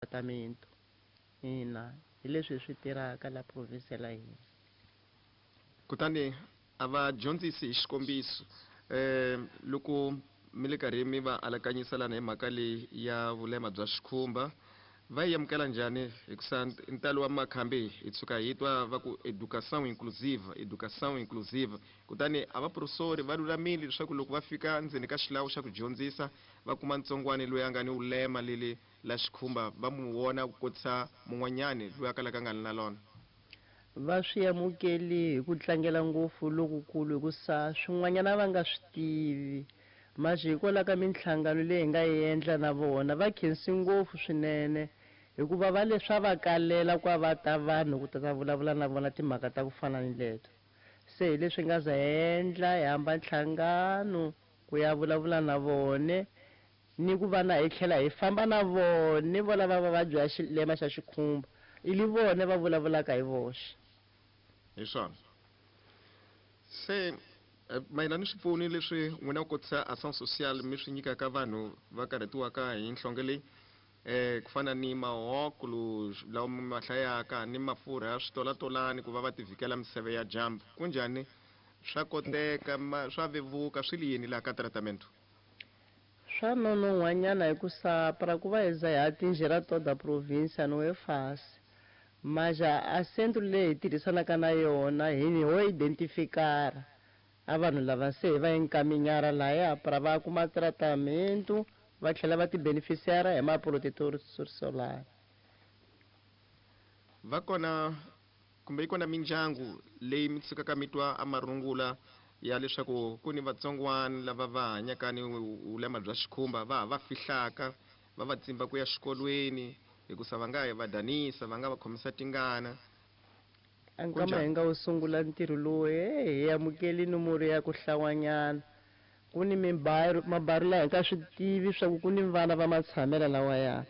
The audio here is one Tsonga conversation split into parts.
Tratamento. Ina, hi leswi hi swi tirhaka la province la hina. Kutani a va dyondzisi hi xikombiso loko mi le karhi mi va alakanyisa lana hi mhaka leyi ya vulema bya xikhumba, va yi amukela njhani? Hikusa ntalo wa makhambi hi tshuka hi twa va ku educação inclusiva, educação inclusiva. Kutani a va professori va lulamile leswaku loko va fika ndzeni ka xilawu xa ku dyondzisa va kuma ntsongwani loyi a nga ni vulema leli la xikhumba, va mu vona ku kotisa mun'wanyani loyi a kalaka a nga li na lona. Va swi amukeli hi ku tlangela ngopfu lokukulu, hikusa swin'wanyana va nga swi tivi. Manje hikwalaho ka minhlangano leyi hi nga yi endla na vona, va khensi ngopfu swinene, hikuva va le swa va kalela ku va ta vanhu ku ta ta vulavula na vona timhaka ta ku fana ni leto. Se hi leswi nga za hi endla, hi hamba nhlangano ku ya vulavula na vone, ni ku va na hi tlhela hi famba na vone vo lava va vabya xilema xa xikhumba, i li vone va vulavulaka hi voxe. Hi swona. Se mayelana ni swipfuni leswi n'wina ku kotisa Ação Social mi swi nyikaka vanhu va karhatiwaka hi nhlonge leyi, ku fana ni mahoklu lawa mi ma hlayaka ni mafurha ya switolatolani ku va va tivikela miseve ya dyambu, kunjhani? Swa koteka, swa vevuka, swi li yini laha ka tratamento? Swa nonon'hwanyana hikusa para ku va hi za hi atingir toda a província não é fácil. Mas a centro leyi hi tirhisanaka na yona hi ho identificar a vanhu lava se hi va encaminhar lahaya para va kuma tratamento va tlhela va ti beneficiar hi ma protetor solar. Va kona kumbe yi kona mindyangu leyi mi tshukaka mi twa a marungula ya leswaku ku ni vatsongwana lava va hanyaka ni vulema bya xikhumba va ha va fihlaka, va va tsimba ku ya xikolweni hikusa va nga va danisa, va nga va khomisa tingana. A nkama hi nga wu sungula ntirho lowu, hi amukeli nomoro ya ku hlawanyana. Ku ni mabaru laha hi nga swi tivi swa ku ku ni vana va matshamela lawaya.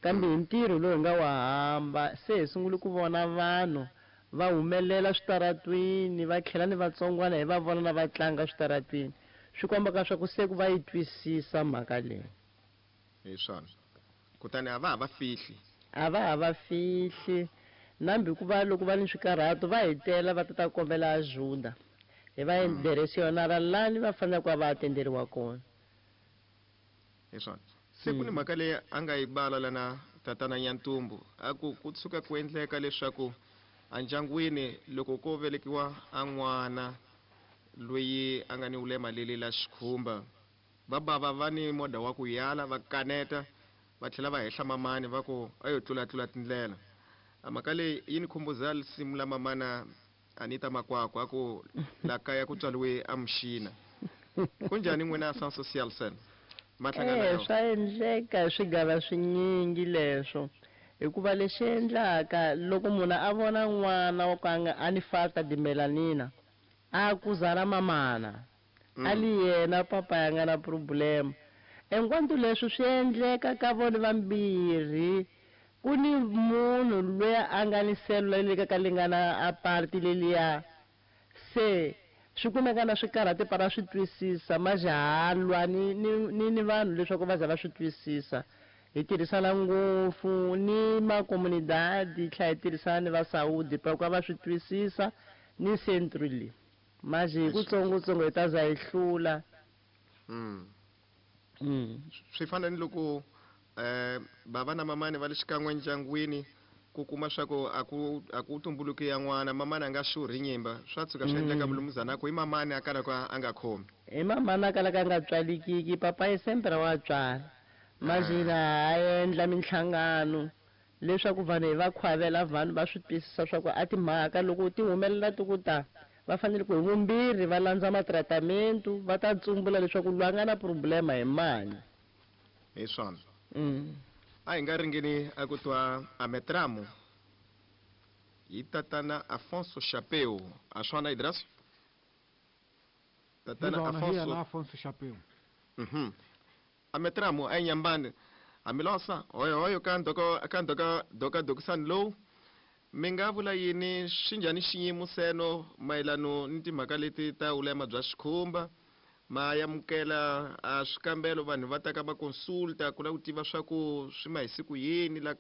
Kambe hi ntirho lowu hi nga wa hamba, se hi sungule ku vona vanhu va humelela switaratwini, va tlhela ni vatsongwana hi va vona na va tlanga switaratwini. Swi kombaka swa ku se ku va yi twisisa mhaka leyi. Hi swona. Kutani a va ha va fihli. A va ha va fihli. Nambi ku va loko va ni swikarhato va hi tela va ta ta kombela ajuda. Hi va direcionara lani va faneleke ku va va atenderiwa kona. Hi swona. Se ku ni mhaka leyi a nga yi bala lana tatana Nyantumbu, a ku ku tshuka ku endleka leswaku endyangwini loko ko velekiwa a n'wana loyi a nga ni vulema leli la xikhumba, va bava va ni moda wa ku yala, va kaneta, va tlhela va hehla mamani va ku a yo tlulatlula tindlela. A mhaka leyi yi ni khumbuza risimu la mamana Anita Makwakwa a ku la kaya ku tswariwe a muxina. Kunjhani n'wina Ação Social sen? Ma hlangana na yona? Swa endleka hi swigava swinyingi leswo, hikuva lexi endlaka loko munhu a vona n'wana wa ku a nga a ni falta de melanina, a akuzana mamana, a li yena papa ya nga na problema. Enquanto leswi swi endleka ka vona vambirhi, ku ni munhu loyi a nga ni celula leyi ka lingana a party leliya, se swi kumeka na swi karhati para swi twisisa, majahalwa ni ni ni ni vanhu leswaku va za va swi twisisa. Hi tirhisana ngopfu ni ma comunidade, hi tlhela hi tirhisana ni va Saudi para ku va swi twisisa ni centro leyi. Manje hi kutsongotsongo hi ta za hi hlula. Swi fana ni loko bava na mamani va le xikan'we ndyangwini, ku kuma swa ku a ku a ku tumbuluki ya n'wana, mamani a nga xurhi nyimba, swa tshuka swi endleka mulumuzana a ku i mamani a kalaka a nga khomi. I mamani a kalaka a nga tswalikiki, papa i sempre wa tswala. Manje hina ha endla minhlangano leswaku vanhu hi va khwavela vanhu va swi twisisa swa ku a timhaka loko ti humelela ti ku ta, va fanele ku hi vumbirhi va landza matratamento, va ta tsumbula leswaku loyi a nga na problema hi mani. Hi swona. A hi nga ringeni a ku twa a metramo hi tatana Afonso Chapeu. A swona Idras? Tatana Hi Afonso. yena Afonso Chapeu. A metramo a nyambani. Hamilosa hoyo hoyo ka ndoko ka ndoka doka dokisani lowu. Mi nga vula yini swi njhani xiyimo seno mayelano ni timhaka leti ta vulema bya xikhumba? Ma amukela a swikambelo, vanhu va ta ka va consulta ku lava ku tiva swa ku swi ma hi siku yini la ka.